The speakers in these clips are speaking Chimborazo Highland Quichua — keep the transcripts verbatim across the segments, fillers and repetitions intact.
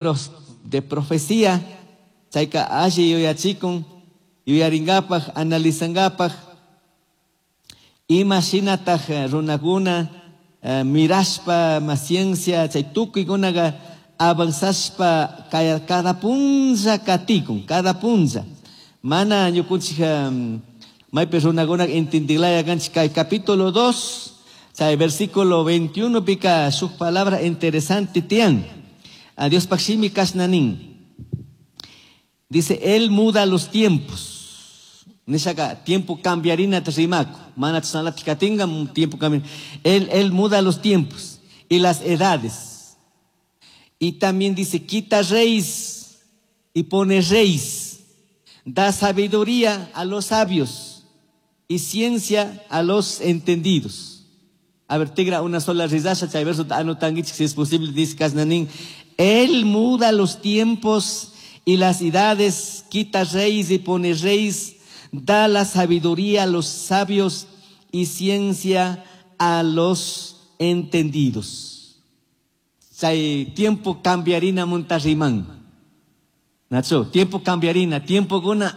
De profecía, chayka alli yuyachikun, yuyaringapaj, analizangapaj, ima shinataj runakuna eh, mirashpa, ma ciencia, chay tukuykunaqa avanzashpa cada punlla katikun, cada punlla. Mana ñukunchik um, maypi runakuna entendiglaya kanchik kay capítulo dos, chay versículo veintiuno pika shuk palabra interesante tiyan. A Dios shimi kashna nin. Dice, él muda los tiempos. Nishaka tiempo cambiarina rimaku. Mana chasnalatik katinga tiempo cambiar. Él, él muda los tiempos y las edades. Y también dice, quita reyes y pone reyes. Da sabiduría a los sabios y ciencia a los entendidos. A ver, tigra una sola risasha, chay verso anotanguichik, si es posible, dice kashna nin. Él muda los tiempos y las edades, quita reyes y pone reyes, da la sabiduría a los sabios y ciencia a los entendidos. Chay tiempo cambiarina munta riman. Nacho, tiempo cambiarina, tiempo guna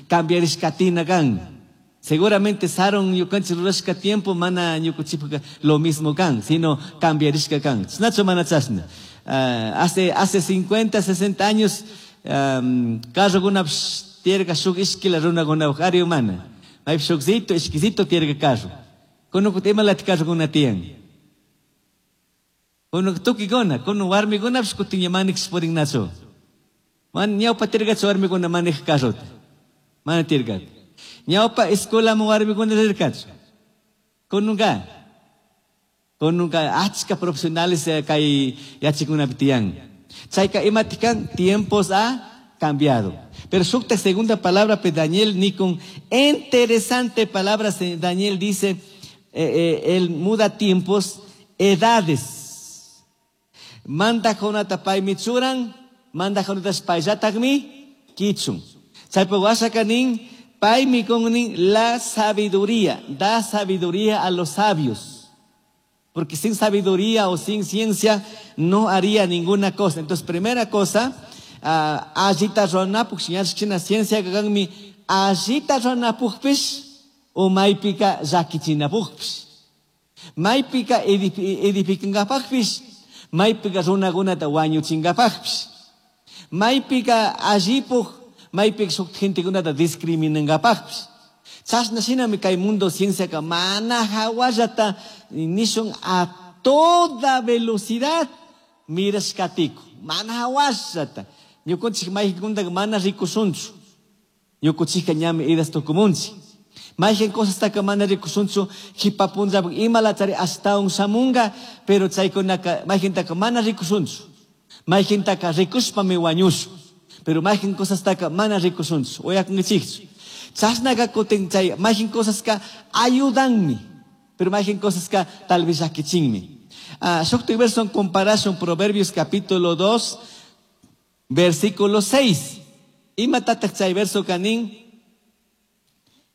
cambiarishkatina kan. Seguramente sarun ñukanchik rurashka tiempo mana ñukuchipaka lo mismo kan, sino cambiarishka kan. Nacho mana chashna. Uh, hace, hace cincuenta, sesenta años, um, carro guna tierga shuk ishkila runa guna ari humana. May shukzito, ishkizito tierga carro. Kuno kuti imalati carro guna tiyan. Kuno tuki guna, kuno warmi guna kutin manik purin nacho. Man ñawpa tirgachu warmi guna manik carro. Mana tirga. Ñawpa escuela mo warmi guna rirkachu. Kununga. Kununga achka profesionales kay yachikunapi tiyan. Chayka imatikan tiempos ha cambiado. Pero shukta segunda palabra pe Daniel nikun interesante palabra Daniel dice, eh, eh, él muda tiempos, edades. Manda jonata paymi churan, manda jonata payllatakmi kichun. Chaypa washaka nin, paymi kun nin la sabiduría, da sabiduría a los sabios. Porque sin sabiduría o sin ciencia no haría ninguna cosa. Entonces, primera cosa, uh, allita runapuk, china ciencia kanmi, allita runapukpish o maypika llakichinapukpish. Maypika edificankapakpish, maypika runakunata wañuchinkapakpish. Maypika allipuk, maypika shuk gentekunata discriminankapakpish. Chashna shinami kay mundo ciencia ka mana hawallata nishun a toda velocidad mirashkatiku. Mana hawallata. Ñukunchik maykunta mana rikushunchu. Ñukunchikka ñami idas tukumunchik. Mayqin cosastaka mana rikushunchu hipapunllapuk imalachari ashtawan shamunga, pero chaykunaka mayqintaka mana rikushunchu. Mayqintaka rikushpami wañushun. Pero mayqin cosastaka mana rikushunchu. Uyakunkichikchu. Chashnaka kutin chay mayqin cosaska ayudanmi, pero mayqin cosaska tal vez llakichinmi. Ah, shuktik verso en comparación Proverbios capítulo dos, versículo seis. Imatataq chay verso kanin?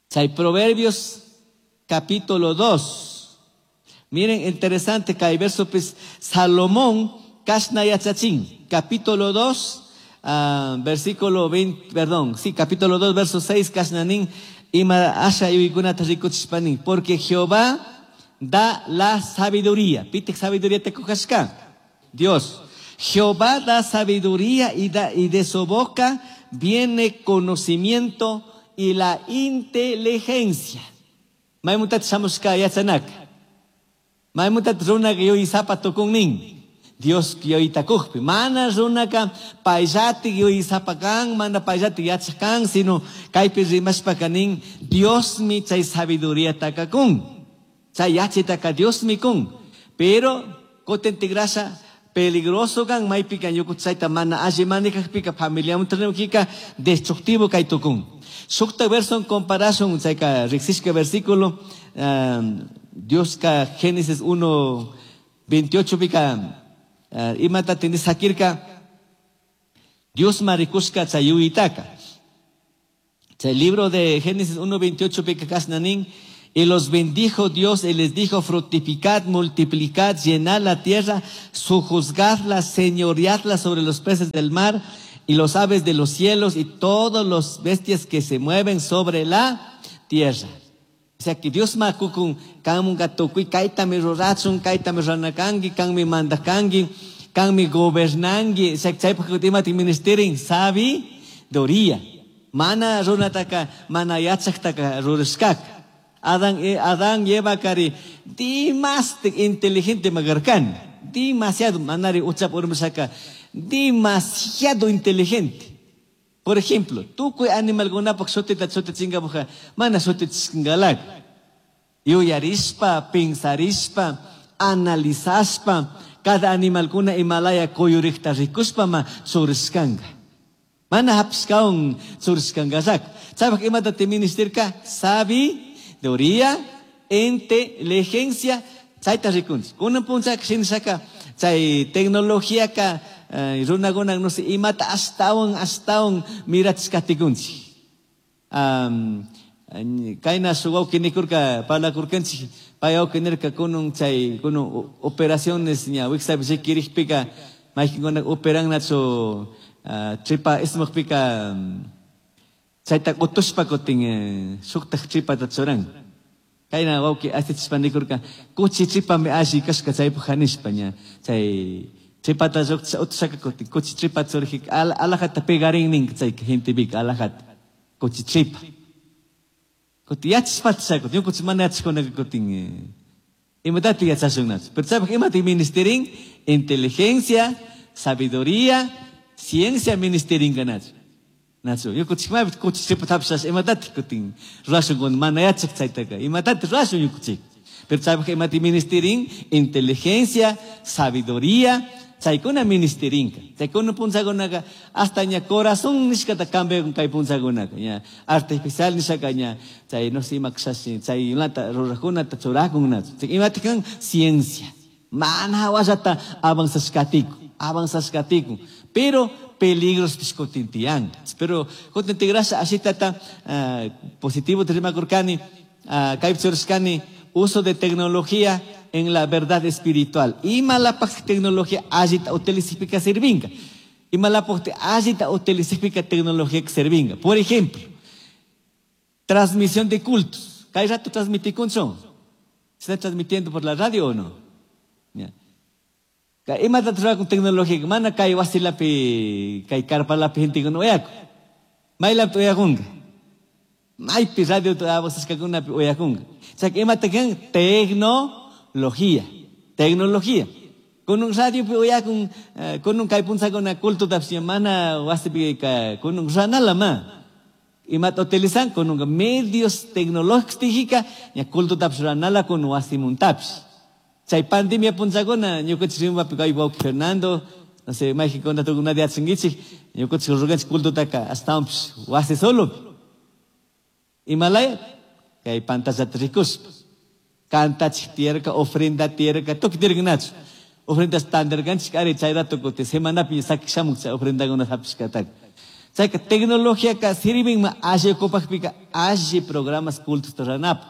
Chay Proverbios capítulo dos. Miren, interesante kay verso pues, Salomón kashna yachachin, capítulo dos, uh, versículo veinte, perdón, sí, capítulo dos, verso seis, kashnanin, ima asha yuykunata rikuchishpanin, porque Jehová da la sabiduría. Pitek sabiduría te kujashka. Dios. Jehová da sabiduría y, da, y de su boca viene conocimiento y la inteligencia. Maymuntat shamushka yachanak. Maymuntat runaka yuysapa tukunnin. Dios yuytakujpi. Mana runaka payllati yuysapa kan, mana payllati yachak kan, sino kaypi rimashpaka nin, Diosmi chay sabiduría takakun. Chay yachitaka Diosmi kun. Pero kutin tigrasha peligroso kan maypika ñukuchayta mana alli manikakpika familia muntanukika destructivo kay tukun. Shukta verso en comparación, chayka riksishka versículo, um, Dios ka Génesis uno, veintiocho pika, uh, imata tindis hakirka, Dios marikushka chayuyitaka. Chay libro de Génesis uno, veintiocho pika kasnanin, Y los bendijo Dios y les dijo, fructificad, multiplicad, llenad la tierra, sojuzgadla, señoreadla sobre los peces del mar y los aves de los cielos y todos los bestias que se mueven sobre la tierra. O sea que Dios makukun kanmunga tukuy kaytami rurachun, kaytami ranakanki, kanmi mandakanki, kanmi gobernanki. O sea, chaypaq imati ministerin sabiduría. Mana runataka, mana yachaqtaka rurashkaka. Adán, Adán lleva cari demasiado inteligente magarkan, demasiado manari uchap urmashaka, demasiado inteligente. Por ejemplo, tukuy animalkunapak shutita shutichinkapuka, mana shutichingalak. Yuyarispa, pensarishpa, analizaspa, cada animalkuna imalaya kuyurikta rikuspa ma churishkanka. Mana hapishkawan churishkankasak. Chaypak imata te ministerka? Sabiduría, inteligencia, chayta rikunchik. Kunan punchaka shinashaka, chay tecnologíaka, Uh, runakuna no sé, imata astawan astawan mirachishkatikunchik. Um, kayna shuk wawqi nikurka parlakurkanchik, pay wawqi nirka kunun chay kunun operaciones ña wiksapi riquirikpika mayqinkuna operannachu uh, tripa ismaqpika um, chayta utushpa kutin eh, shuktaq tripata churan. Kayna wawqi asichishpa nikurka kuchi tripami alli kashka chaypaq hanishpa ña chay tripata utushaka kutin kuchi tripa churjik al, alajata pegarin nin chay gente bika alajata kuchi tripa. Kutin yachishpata chaykutin ñukanchik mana yachashkunaka kutin imatati yachashunnachu. Pero chaypaq imati ministerin inteligencia, sabiduría, ciencia ministerinka nachu. Nachu ñukanchik maypi kuchi tripata hapishasha imatati kutin rurashun kun mana yachak chaytaka imatati rurashun ñukanchik. Pero chaypaq imati ministerin inteligencia, sabiduría, chaykuna ministerinka. Chaykuna punchakunaka hasta ña corazón nishkata cambiakun kay punchakunaka ña artificial nishaka ña chay no sé ima kashashi chay imata rurakunata churakunnachu. Chay imati kan ciencia. Mana hawallata avanzashkatiku, avanzashkatiku. Pero peligros kutin tiyan. Pero kutin tigrasha ashitata uh, positivo rimakurkani, uh, kaypi churashkani uso de tecnología en la verdad espiritual. Ima lapaq tecnología allita utilizipika sirvinga. Ima lapaq allita utilizipika tecnología sirvinga. Por ejemplo, transmisión de cultos. ¿Kay rato transmitikunchun? ¿Se está transmitiendo por la radio o no? Ya. Ima ta con tecnología, mana kay wasilapi, kay karpalapi gente kun uyaku. Maylapi uyakunga. Maypi radio abasashkakunapi uyakunga. O sea, ima ta kan tecnología, tecnología. Con un radio uyakun, con un kay punchakuna culto tapsi mana wasipi ka con un ranala ma. Ima ta utilizan con un medios tecnológicos tijika, ña culto tapsi ranala con wasimun tapsi. Chay pandemia punchakuna ñukanchik rimbapi kay wawqi Fernando, no sé, mayqikuna tukunata yachankichik, ñukanchik ruranchik cultotaka astawanpis wasi solopi. Imalaya kay pantallata rikuspa. Cantachik tiyarka, ofrenda tiyarka, tukuy tiyarkanachu. Ofrendas tandarkanchik ari chay rato kutin semanapi sakishamuk chay ofrendakuna hapishkataka. Chayka tecnologiaka sirvinma alli ukupaqpika alli programas cultos ruranapaq.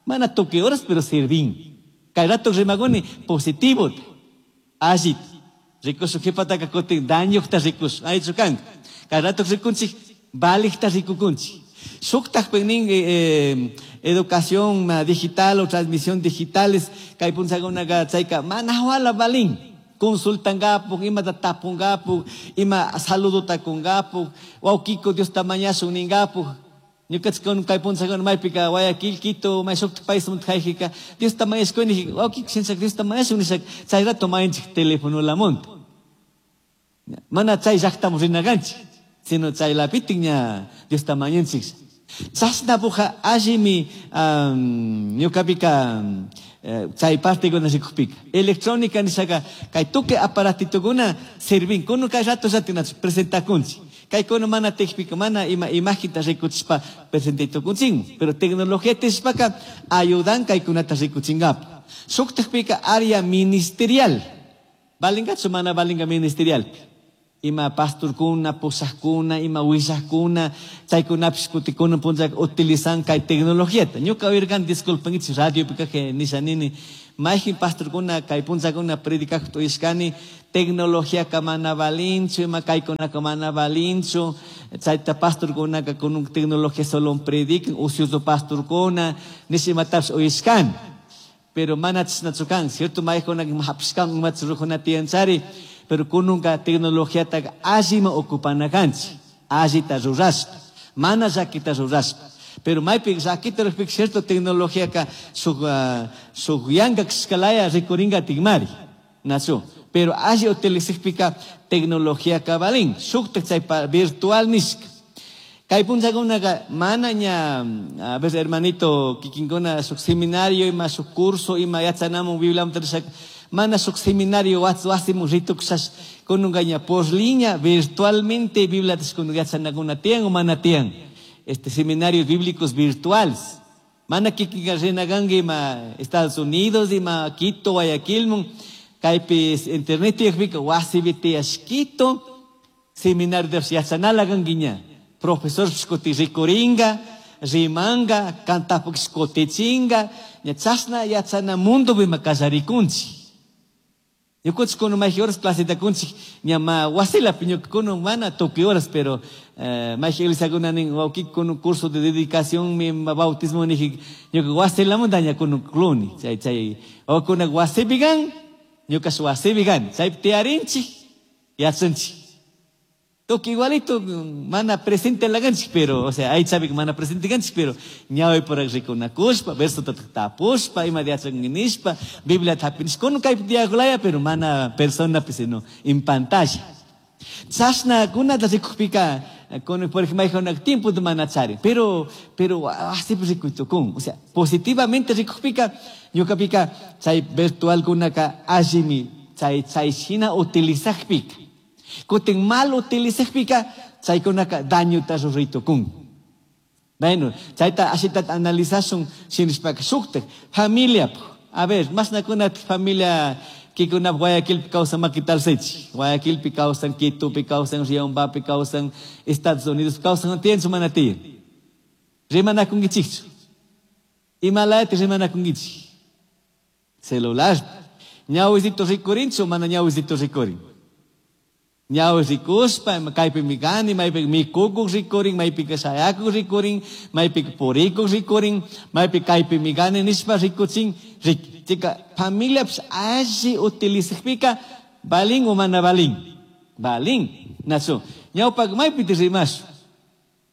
Mana tukuy horas pero sirvin. Kay rato rimakuni positivo. Alli rikushun qhipataka kutin dañuqta rikushun. Aychu kanka. Kay rato rikunchik valijta rikukunchik. Shuktaqpin nin eh, educación digital o transmisión digitales kay punchakunaka chayka mana wala valin. Consultangapuq, imata tapungapuq, ima saludota kungapuq, wawqiko Diosta mañashun ningapuq. Ñukanchik kay punchakuna maypika Guayaquil, Quito, may shuktaq paismanta kayjika Diosta mañashkuni, wawqiko shinashaka Diosta mañashun nishaka chay rato mañanchik telefonolamanta. Mana chay llaqtaman rinakanchik, sino chaylapitin ña Diosta mañanchik. Chashnapuqa allimi um, ñukapika chay partekuna rikukpika. Electrónica nishaka kay tukuy aparatitukuna sirvin. Kunan kay rato llatinach presentakunchik. Kay kunan mana tejpika mana ima imaginta rikuchishpa presentaytukunchinman. Pero tecnología tishpaka ayudan kaykunata rikuchinkapa. Shuktaqpika área ministerial. Valingachu mana valinga ministerial. Ima pastorkuna, pushajkuna, ima willajkuna, chaykunapish kutikuna punllaka utilizan kay tecnologiata. Ñuka oirkan, disculpen, radio pika nisha nini, mayjin pastorkuna kay punllakuna predicajta uyashkani, tecnologiaka mana valinchu, ima kaykunaka mana valinchu, chayta pastorkunaka kun tecnología solo predican, ocioso pastorkuna, nisha imatapish uyashkani. Pero mana chashnachu kan, cierto, mayjuna hapishkan imata rurajuna tiyanchari, pero kununka tecnologiataka allima ocupana kanchik, allita rurashpa, mana llakita rurashpa. Pero maypi llakita rurajpika cierto tecnologiaka shuk, uh, shuk yanka kashkalaya rikurinka tikmari, nachu. Pero alli utilizajpika tecnologiaka valin, shuktak chay virtual nishka. Kay punllakunaka mana ña, a ver, hermanito, kikinkuna shuk seminario ima shuk curso ima yachanamun Bibliamanta rishaka, mana shuk seminario wasimun ritukushash kununka ña por línea virtualmente Bibliata kununka yachanakuna tiyan o mana tiyan. Este seminarios bíblicos virtuales. Mana kikinka rinakanki ima Estados Unidos, ima Quito, Guayaquilmun, kaypi internet tiyakpika wasipi tiyash Quito, seminario de yachanala kanki ña. Profesor kuti rikuringa, rimanga, kantapuk kutichinga, ña chashna yachana mundopi ima kallarikunchik. Ñukanchik kunan mayqin horas claseta kunchik, ña ma wasilapi ñuka kunan mana tukuy horas, pero eh, mayqin iglesiakuna nin, wawkiki kunan curso de dedicación, mi bautismo niji, ñuka wasilamanta ña kunan kluni, chay, chay, wawkuna wasipi kan, ñukash wasipi kan, chaypi tiyarinchik, yachanchik. Tukuy igualito, mana presente laganchik, pero, o sea, ahí sabe que mana presente ganchik, pero ñawi por rikunakushpa, verso tapushpa, ima yachanki nishpa, Biblia tapinishpa, kunan kaypi tiyakulaya, pero mana persona, pues, sino en pantalla. Chashna kunata rikukpika, con, por ejemplo, hay un tiempo de mana chari, pero, pero, así pues rikutukun, o sea, positivamente rikukpika, ñukapika, chay virtual kunaka allimi, chay, chay shina utilizajpika. Kutin mal utilizajpika, chaykunaka dañota ruraytukun. Bueno, chayta ashita analizashun shinishpaka shuktak familia. A ver, mashnakuna familia kikuna Guayaquilpi kawsan makitalsaychik. Guayaquilpi kawsan, Quitopi kawsan, Riobambapi kawsan, Estados Unidos kawsan, tiyanchu mana tiyan. Rimanakunkichikchu. Imalayta rimanakunkichik. Celular. Ñawisito rikurinchu, mana ñawisito rikurin. Ñawi rikushpa, kaypi mikani, maypi mikukuq rikurin, maypi shayakuq rikurin, maypi purikuq rikurin, maypi kaypi mikani nishpa rikuchin, chika familiapish alli utilizajpika, balin o mana balin? Balin, nachu. Ñawpaka maypiti rimash.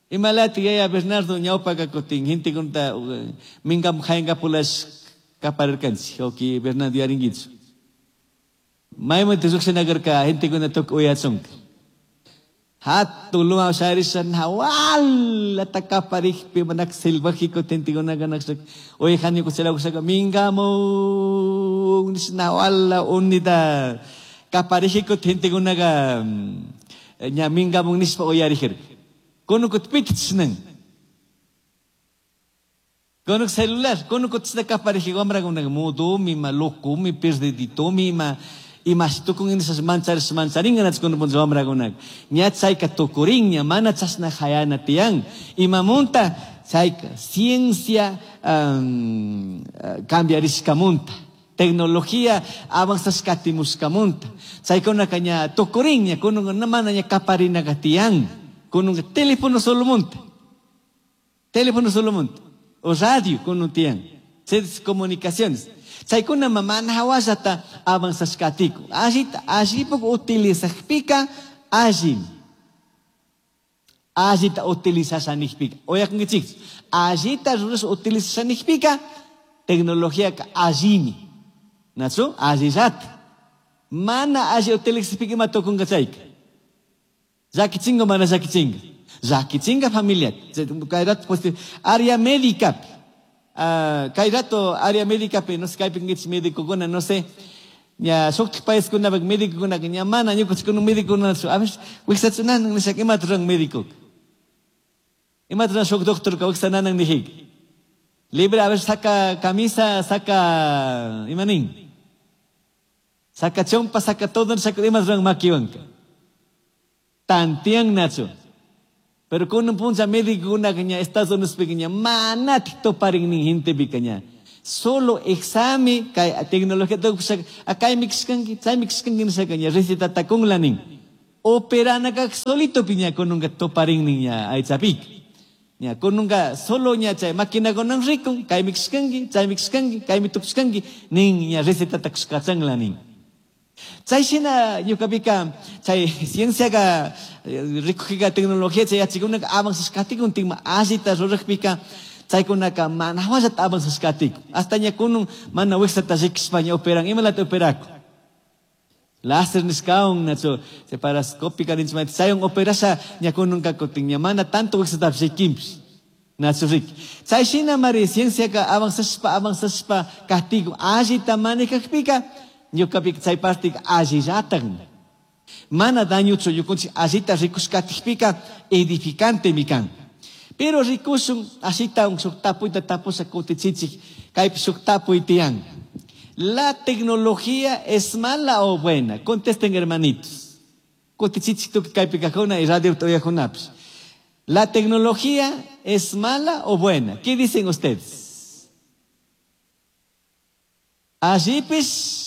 Imalati yaya Bernardo ñawpaka kutin, gentekunata minkam hayankapulash kaparirkanchik, oki Bernardo yarinkichu. Maymanta lluqshinakarka gentekuna tukuy uyachunka. Hatun luma sharisha nawalata kaparikpi manak silvajiko gentekunaka nakshaka uyajani kuchalakushaka minkamun nawala unita kaparijiko gentekunaka ña minkamun nishpa uyarijirka. Kunukut pitchnan. Kunuk celular, kunukut chishna kaparijiko wamrakunaka mudumi ma locumi perdiditomi ma Imash tukun inishas mancharis mancharinga nach kunun puncha wamrakunak. Ña chayka tukurin, ña mana chashna hayana tiyan. Imamunta chayka ciencia um, cambiarishkamunta. Tecnología avanzashkatimushkamunta. Chaykunaka ña tukurin, ña kunun mana ña kaparinaka tiyan. Kunun teléfono solo munta. Teléfono solo munta. O radio kunun tiyan. Sedes comunicaciones. Chaykuna mana hawallata avanzashkatiku. Allita, allipuk utilizajpika, allim. Allita utilizashanijpika. Oyakunkichik. Allita ruras utilizashanijpika, tecnologiaka allimi. Nachu? Allillata. Mana alli utilizajpika ima tukunka chayka. Llakichinga mana llakichinga. Llakichinga familia. Kay rato, pues, área médica. Uh, kay rato área médica, pero no sé, kaypi médico kuna, no sé. Ña shuktik país kuna médico kuna ña mana ñukanchik kuna médico kuna a ver wiksachunanan nishaka imata ruran médico. Imata ruran shuk doctor ka wiksananan nijik. Libre, a ver, saca camisa, saca imanin. Saca chompa, saca todo, saca imata ruran makiwanka. Tantiannachu. Pero kunan puncha médicokunaka ña Estados Unidospika ña manatik tuparin nin gentepika ña. Solo examen kay tecnología tukushaka kaymi kashkanki, chaymi kashkanki nishaka ña recetata kunla nin. Operanaka solito piña kununka tuparin nin ña aychapika. Ña kununka solo ña chay maquinakunan rikun, kaymi kashkanki, chaymi kashkanki, kaymi tukushkanki nin ña recetata kushkachanla nin. Chay shina ñukapika chay cienciaka rikujika tecnología chay yachikunaka avanzashkatikun tigma allita rurajpika chaykunaka mana hawallata avanzashkatikun. Hasta ña kunun mana wiksata rikushpa ña operan, imalata operakun. Láser nishkawan nachu separascópica ninchimanta chaywan operasha ña kununka kutin ña mana tanto wiksatapish rikinpish. Nachu riki. Chay shina mari cienciaka avanzashpa avanzashpa katikun allita manejajpika ñukapika chay partika allillatakmi. Mana dañuchu ñukunchik allita rikushkatikpika edificantemi kan. Pero rikushun ashita shuk tapuyta tapusha kutichichik kaypi shuk tapuy tiyan. ¿La tecnología es mala o buena? Contesten, hermanitos. Kutichichik tukuy kaypi kajuna y radio uyajunapish. ¿La tecnología es mala o buena? ¿Qué dicen ustedes? Allipis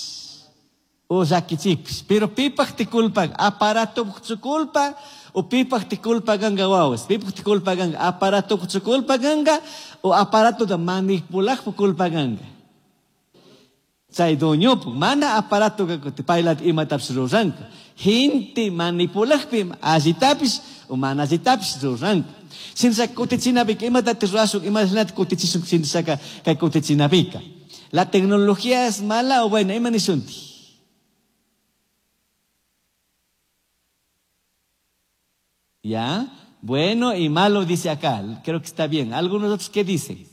o llakichipis. Pero pipaj te culpa, aparato su culpa, o pipaj te culpa ganga wawas, pipaj te culpa ganga, aparato su culpa ganga, o aparato de manipular culpa ganga. Chay doñopu, mana aparato que te pailat imatapis ruranka. Gente manipulajpi allitapis o mana allitapis ruranka. Sinsa kutichinapika, imatate rurashun, imatate kutichishun, sinsaka kay kutichinapika. La tecnología es mala o buena, ima nishunti. ¿Ya? Bueno y malo dice acá. Creo que está bien. ¿Algunos otros qué dicen?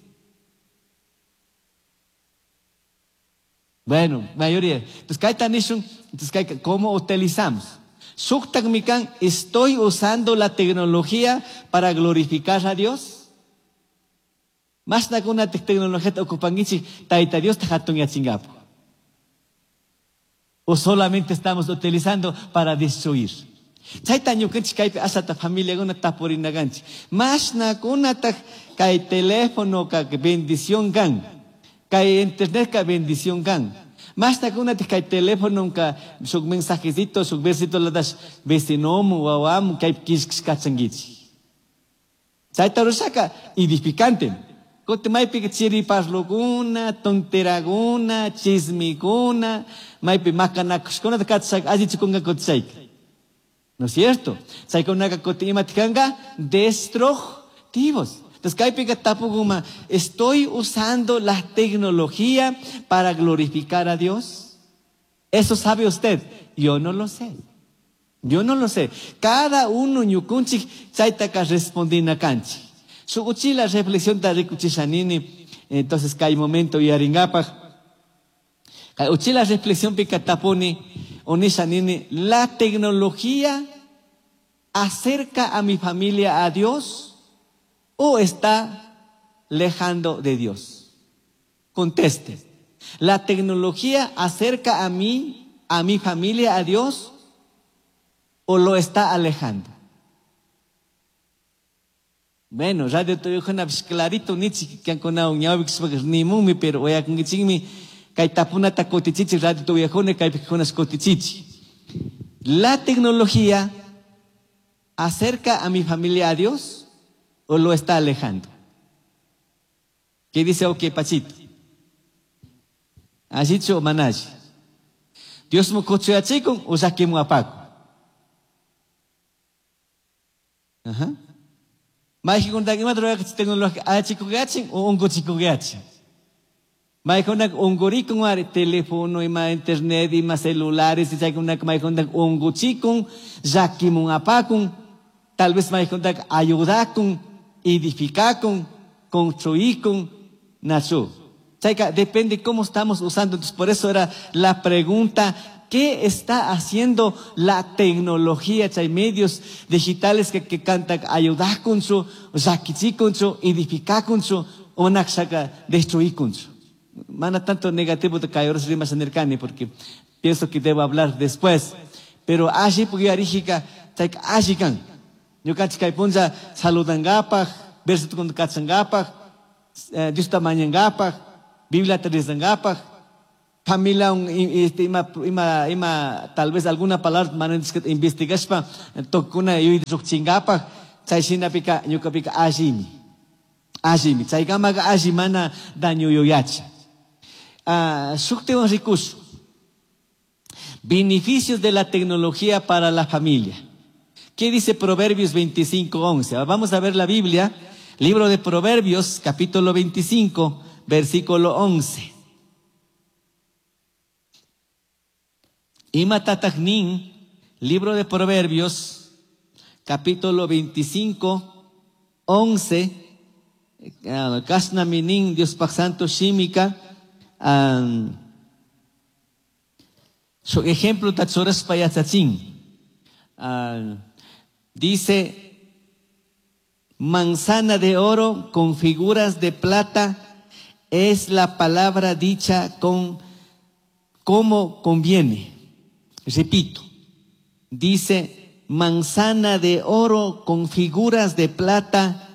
Bueno, mayoría. Entonces, kayta nishun, entonces, kay, ¿cómo utilizamos? Shuktak mikan, ¿estoy usando la tecnología para glorificar a Dios? Más na tecnología ocupangichi, taita Dios ta hatun yachingapo. O solamente estamos utilizando para destruir. Chayta ñukanchik kaypi asata familiakuna tapurinakanchik. Mashnakunataq kay teléfono ka bendición kan. Kay internet ka bendición kan. Mashnakunataq kay teléfono ka shuk mensajecito, shuk versito latash vecinomu, wawamu, kaypi kishkishkachankichik. Chayta rurashaka edificante. Kutin maypika chiri parlukuna, tonteraguna, chismikuna, maypi makanakushkunata kachashaka allichikunka kutishayka. ¿No es cierto? Chaykunaka kutin imatikanga destructivos. Entonces, kaypika tapukuma, ¿estoy usando la tecnología para glorificar a Dios? Eso sabe usted. Yo no lo sé. Yo no lo sé. Cada uno ñukunchik chaytaka respondina kanchik. Sukuchila reflexión ta rikuchishanini. Entonces, kay momento yaringapaj. Kay uchila reflexión pika tapuni onishanini, la tecnología acerca a mi familia a Dios o está lejando de Dios. Conteste. ¿La tecnología acerca a mí, a mi familia a Dios o lo está alejando? Bueno, radio tuyujuna clarito nichi kankunao ñawik nimumi pero oyakunkichikmi kay tapunata kutichichi radio tuyujuna kaypi kunas kutichichi. La tecnología acerca a mi familia a Dios o lo está alejando. ¿Qué dice ok Pachito? Ashichu o manashi. Dios mu kuchuyachikun o sakimu apaku. Ajá. Maykunata imata rurayqa tecnología achikuyachin o unkuchikuyachin. Maykunaka unkurikun ari teléfono ima internet ima celulares y chaykunaka maykunata unkuchikun, llakimun apakun, tal vez maykunata ayudakun, edificakun, construikun, nachu. Chayka depende cómo estamos usando. Entonces por eso era la pregunta, ¿qué está haciendo la tecnología? Hay medios digitales que, que cantan ayudar con su, llakichikun su, edificar con su, o naxaca destruir con su. Mana tanto negativo de caer rimas en el porque pienso que debo hablar después. Pero allí porque arígica, Chayka alli kan. Ñukanchik kay punlla saludankapaj, versitokunata kachankapaj, Diosta mañankapaj, Bibliata rezankapaj, familia este, ima, ima, ima, tal vez alguna palabra mana investigashpa tukuna yuyay chay shinapika ñukapika allimi. Allimi. Chaykamaqa alli mana daño yuyachi. Uh, shuktiwan rikushun. Beneficios de la tecnología para la familia. ¿Qué dice Proverbios veinticinco once? Vamos a ver la Biblia, libro de Proverbios, capítulo veinticinco, versículo once. Ima tatajnin, libro de Proverbios, capítulo veinticinco, once, Kasna minin, Dios pak santo shimika, um, su ejemplo tatsuras payatsachin. Uh, dice, manzana de oro con figuras de plata es la palabra dicha con como conviene. Repito, dice, manzana de oro con figuras de plata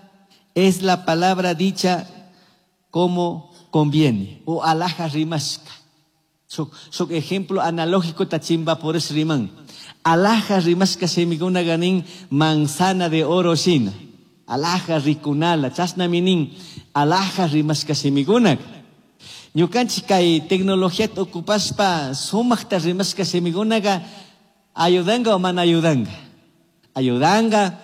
es la palabra dicha como conviene. O alhaja rimashka. Su, su ejemplo analógico tachimba por ese rimán. Alhaja rimashka shimikuna ganin manzana de oro shina. Alhaja rikunala, chasna minin, alhaja rimashka shimikuna. Ñukanchik kay tecnología ocupaspa sumaqta rimashka shimikunaqa ayudanga o mana ayudanga. Ayudanga,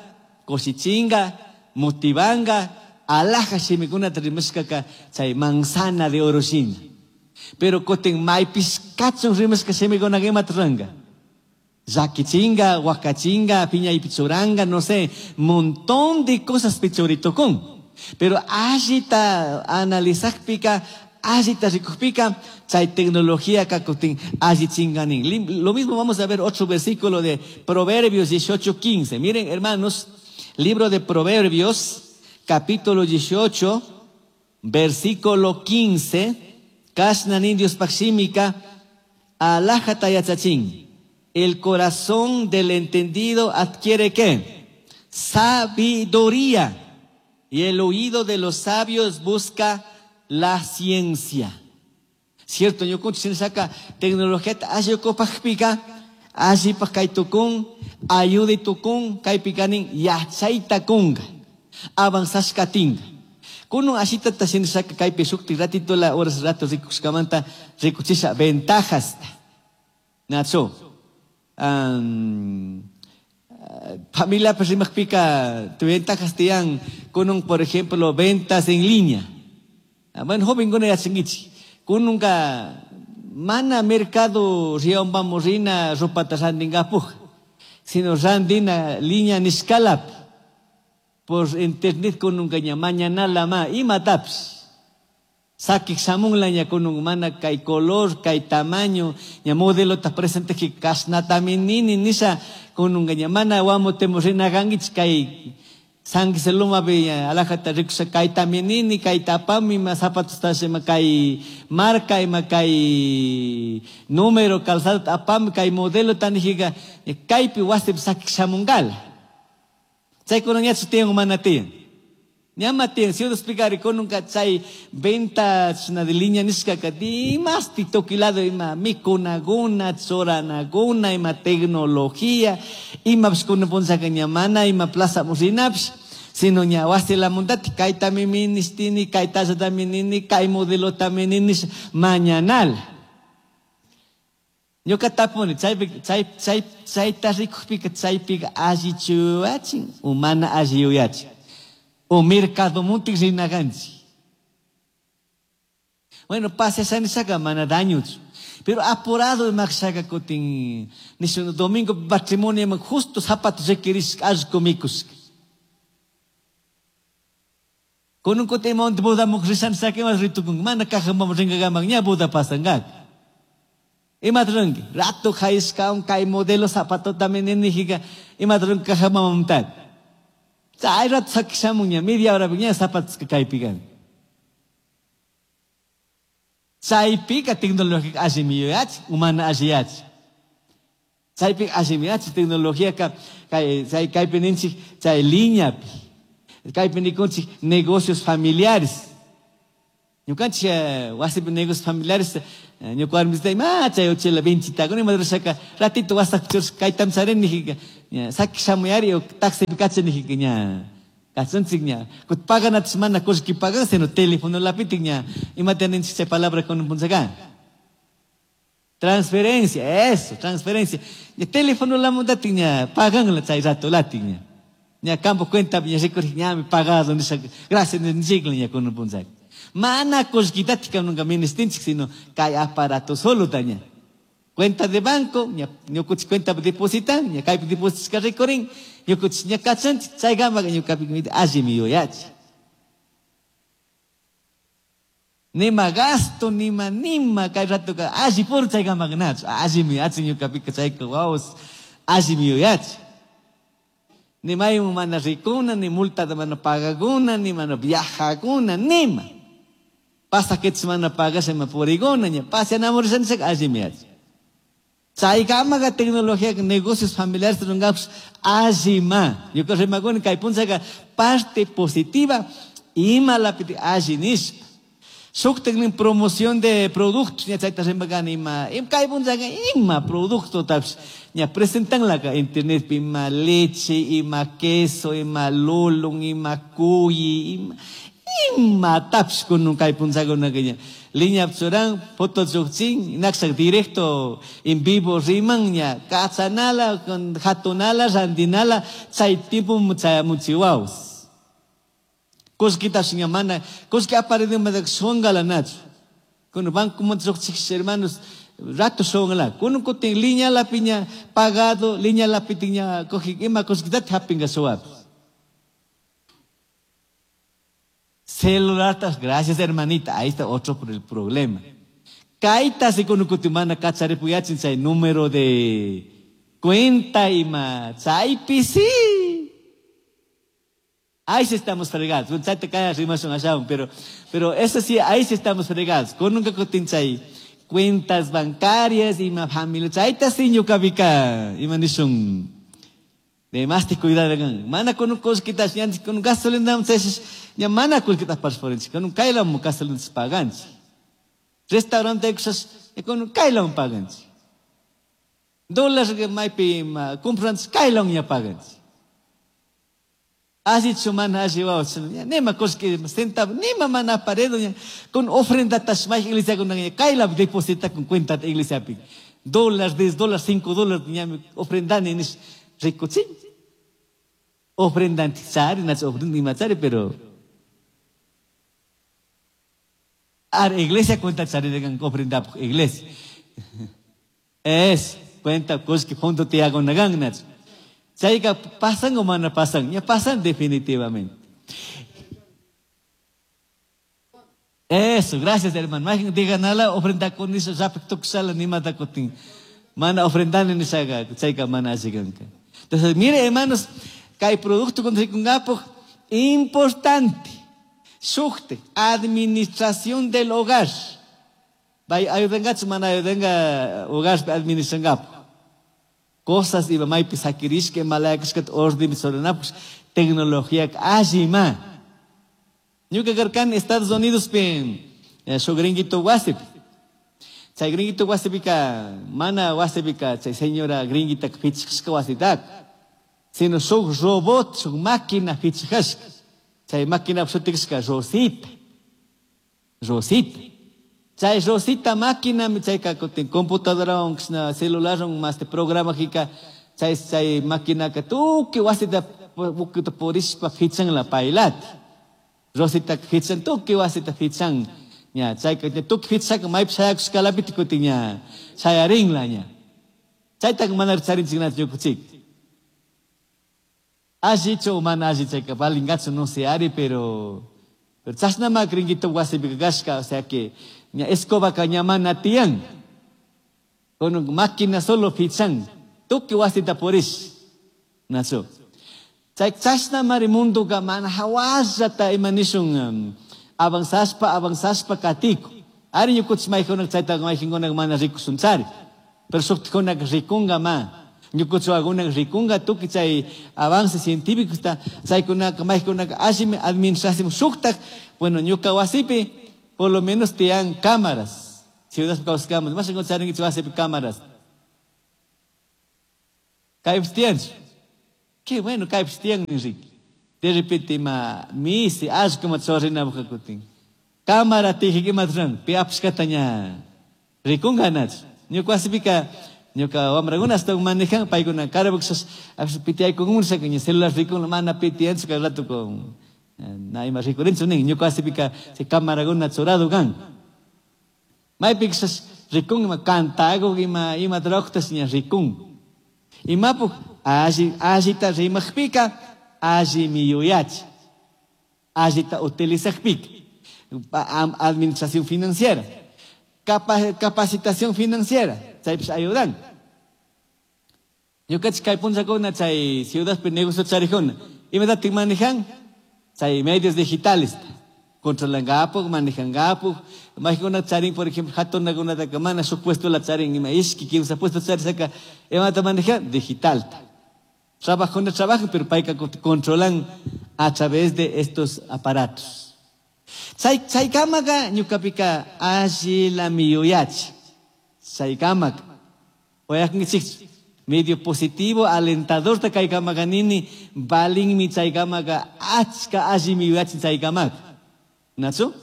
kusichinga, motivanga, alhaja shimikunata rimashkaka chay manzana de oro shina. Pero kutin maypis kachun rimashka shimikunaqa imata ruranqa. Llakichinga, huacachinga, piña y pichuranga, no sé, montón de cosas pichuritukun. Pero allita analizakpika, allita rikukpika, chay tecnología kakutin alli chinganin. Lo mismo vamos a ver otro versículo de Proverbios dieciocho quince. Miren, hermanos, libro de Proverbios, capítulo dieciocho, versículo quince. Kashnan indios pakshimika, alhaja tayachachin. El corazón del entendido adquiere ¿qué? Sabiduría. Y el oído de los sabios busca la ciencia. Cierto, yo con saca tecnología, ayo copajpica, ayi pacaitukun, ayude tukun, kaipicanin, yachaita kunga, avanzashkatinga. Kuno ashita ta saca kaipi shukti ratito la horas rato rikushkamanta rikuchisha ventajas. Nacho. Um, familia pues rimajpica, tu ventajas tian con un, por ejemplo, ventas en línea. Bueno, joven con ya chingichi. Con nunca mana mercado rion vamos rina ropa tasandinga puj, sino randina línea niscalap por internet con nunca ña mañana la ma y mataps. Sakik samun la ña con un mana kay color, kay tamaño, ña modelo ta presente que kasna taminini nisa con un ña mana wamo temos rina gangich kay sangi seluma be alajata rikusa kay taminini kay tapami ma zapatos ta ma kay marca ima kay número calzado apam kay modelo tanijiga kaypi wasip sakik samungal. Chay con ña tiyan mana tiyan. Ñama tiyan, si yo explicar con un cachay ventas na de línea nisca que más titoquilado ima mikunaguna, tzoranaguna, ima tecnología, ima pskuna ponza cañamana, ima plaza musinaps, sino ña wasi la mundati, kay tamiministini, kay tasa taminini, kay modelo tamiниnis, mañanal. Ñuka tapuni, chay chay chay chay tarrikujpika chaypika allichuachin, humana alliyuyachin. O mercado muntik rinaganchi. Bueno, pasa sanisaka mana daño. Pero apurado maxaga kutin nisun domingo patrimonio justo zapatos requeris allko mikus. Con un kote monte boda mukrisan sake mas ritukun mana caja vamos ringagamang ña boda pasangak. Imatrangi rato khaiska un kai modelo zapato también nijiga imatran caja mamamtat. Chay rato sakishamunña media hora ña zapatos que kaypikan. Chaypika tecnología allimiyach, humana alliyach. Chaypi allimiachi tecnología ka kay chay kaypi ninchik chay liñapi. Kaypi nikunchik negocios familiares. Ñukanchik wasipi negocios familiares ñuka warmisita ima chay uchila vinchitakuna ima rurashaka ratito wasaq churashka kaytam charini nijika ña saki shamuyari o taxipi kacha nijika ña kachunchik ña kut paganatash mana kullki pagan sino teléfono lapitik ña imata ninchik chay palabra kunan punchaka transferencia, eso, transferencia. Ña teléfono lamuntatik ña paganla chay rato latik ña ña campo cuenta ña rikurik ñami pagado nisha gracias ninchikla ña kunan punchaka. Mana kullkitatik nunca ministinchik sino kay aparato solo taña. Cuenta de banco, ña ñukuchik cuenta depositan, ña kaypi depositashka rikurin, ñukuchik ña kachanchik, chaykama ñukapi allimi yuyachi. Nima gasto, nima nima kay ratoka alli puro chaykama nachu, allimi yuyachi ñukapika chayka wawas, allimi yuyachi. Ni mayman mana rikuna, ni multa mana pagakuna, ni mana viajakuna, nima. Pasajetes mana pagasha ma puriguna, ña pasa enamorishanchik allimi yuyachi. Chaykamaqa tecnología negocios familiares rungapas allima. Ñuka rimakuni kay punchaka parte positiva ima lapiti alli nishpa. Shuktik nin promoción de productos ña chayta rimakani ima, im kay punchaka ima producto tapsh ña presentanlaka internet pi ima leche, ima queso, ima lulun, ima cuyi, ima ima tapsh kunun kay punchakunaka ña. Liña churan, foto chukchin, nakshak directo en vivo riman ña, kachanala, jatunala, randinala, chay tiempo chayamuchiwaos. Kullkitash ña mana, kullki aparidin madak shongala nachu. Kuno banco monchukchik hermanos, rato shongala. Kuno kutin liña la piña pagado, liña la pitiña coji, ima kullkitat hapinga showap. Celular, gracias hermanita, ahí está otro por el problema. Kaita si kuno kutimana kacharipuyachin chay número de cuenta ima chaypi sí. Ahí sí estamos fregados. Bueno, te caes rimas un allá, pero, pero eso sí, ahí sí estamos fregados. Con nunca kutin chay cuentas bancarias y ma familia. Chayta sí ñuka ima nishun. De más te cuidado, mana con un cosquita, con un gasolina, ya mana cosquita para con un kaila mu gasolina paganchi. Restaurante cosas, con un kaila un paganchi. Dólares que maipi compran kaila un ya paganchi. Así chumana así va, nema cosque centavo, nema mana paredo, con ofrenda tashmai iglesia con kaila deposita con cuenta de iglesia pi. Dólares, diez dólares, cinco dólares, ofrenda ni rico sí. Ofrenda chari, nas ofrenda machari, pero ar iglesia cuenta chari de ofrenda iglesia. Es cuenta cosque fondo te hago nagang nach. Chayka pasan o mana pasan, ya pasan definitivamente. Eso, gracias hermano. Más digan nada, ofrenda con eso, sala ni mata cotín. Mana ofrenda ni saga, chayka mana asiganka. Entonces, mire hermanos, que hay producto con gapo importante. Shukte, administración del hogar. Bay ayudenga mana ayudenga hogar administración gapo. Cosas iba maipi sakirishke malayakishkat orden sorenapus tecnología allima. Ñuka karkan Estados Unidos pin shu gringuito wasipi. Chay gringuito wasipika mana wasipika chay señora gringuita fichishka wasitak. Sino shuk robot, shuk máquina fichishka. Chay máquina shutikishka Rosita. Rosita. Chay Rosita máquina mi chay ka kutin computadora on celular on más te programa jika chay chay máquina ka tuki wasita bukita porishpa fichan la pailat. Rosita fichan tuki wasita fichan ña chay ka tuki fichan maip chayak skalapit kutin ña chayarin la ña. Chay tak manar charin chignat ñukuchik. Así mana así chay ka balingatsu no se ari pero pero chasna ma gringuito wasipi gashka, o sea que ña escoba cañamana tian con máquina solo fichan tuki wasita porish nacho chay chasna mari mundo ka mana hawasata imanishun avanzaspa avanzaspa katiko ari ñukuch maykuna chayta maykuna mana rikusunchari pero shuktikuna rikunga ma Ñukuchuwakuna rikunga tukuy chay avance científico chaykunaka maykunaka allimi administración shuktak, bueno, ñuka wasipi por lo menos tiyan cámaras. Ciudad kawsakamun, mas charinkichik wasipi cámaras. Kaypis tiyanchu. Qué bueno, kaypis tiyan, Enrique. De repente ima misi, allku ima chorrinapaj kutin. Cámara tijik ima ruran, pi apashkata ña rikunga nachu. Ñuka wasipika ñuka wamrakuna hasta manejan, paykuna carboxas, pitiaykungun ña celular rikun, mana pitiyanchu kay rato con na ima rikurinchu nin, ñuka wasipika chay cámarakuna churado kan. Maypikashas rikun ima cantago ima ima trabajos ña rikun. Imapuk alli allita rimaqpika allimi yuyachi. Allita utilizaqpika. Administración financiera, Capa, capacitación financiera, chaypis ayudan. Ñukanchik kay punllakuna chay ciudadpi negocio charijuna, imatatik manejan? Chay medios digitales. Controlangapuj, manejangapuj. Majikuna charin, por ejemplo, hatunakunataka mana shuk puesto la charin, ima ishki, kimsa puesto charisaka, imata manejan? Digital. Trabajuna trabajan, pero payka controlan a través de estos aparatos. Chay, chaykamaka ñukapika allilami yuyachi. Chaykamaka. Oyakunkichikchu. Medio positivo, alentador ta kaykamaka nini, balinmi chaykamaka achka allimi yuyachi chaykamaka. ¿Nacho?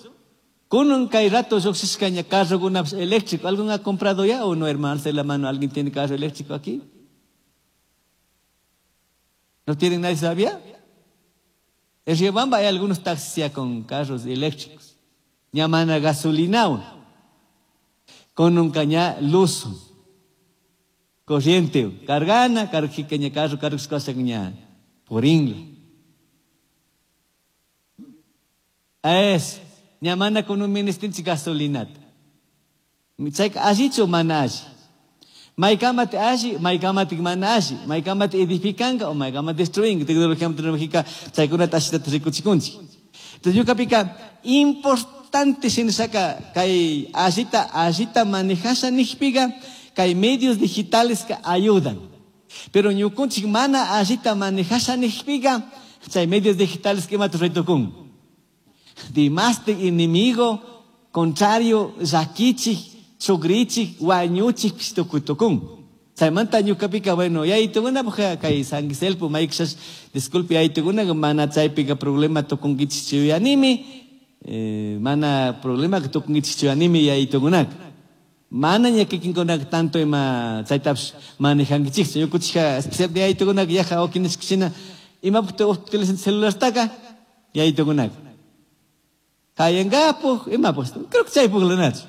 Kunan kay rato lluqshishka ña carrokunapish eléctrico. ¿Alguien ha comprado ya o no, hermano? Alce la mano. ¿Alguien tiene carro eléctrico aquí? ¿No tienen nadie sabía? En Riobamba hay algunos taxis ya con carros eléctricos. Ña mana gasolina. Con un caña luz. Corriente. Cargana, carjica ña carro, carro, cosa ña. Por ingla. Es. Ña mana con un ministinchi gasolinata. Chayka allichu mana alli. Maykamati alli, maykamati mana alli, maykamati edificanka o maykamati destruinka. Tecnología tecnológica chaykunata allitata rikuchikunchik. Entonces ñukapika importante shinashaka kay allita, allita manejasha nijpiga kay medios digitales que ayudan. Pero ñukunchik mana allita manejasha nijpiga chay medios digitales que imata raitukun. Dimastik enemigo contrario llakichik, chugrichik, wañuchik tukutukun. Chaymanta ñukapika, bueno, yaytukuna puja kay San Giselpo, maykshas, disculpe, yaytukuna mana chaypika problema tukunkichik chuyanimi, eh, mana problema tukunkichik chuyanimi yaytukunaka. Mana ña kikinkunaka tanto ima chaytapish manejankichikchu. Ñukuchika especial yaytukunaka yaja okinishkashina imapuk utilizan celulartaka yaytukunaka. Kayangapuj, imapuk, creo que chaypuk lanachu.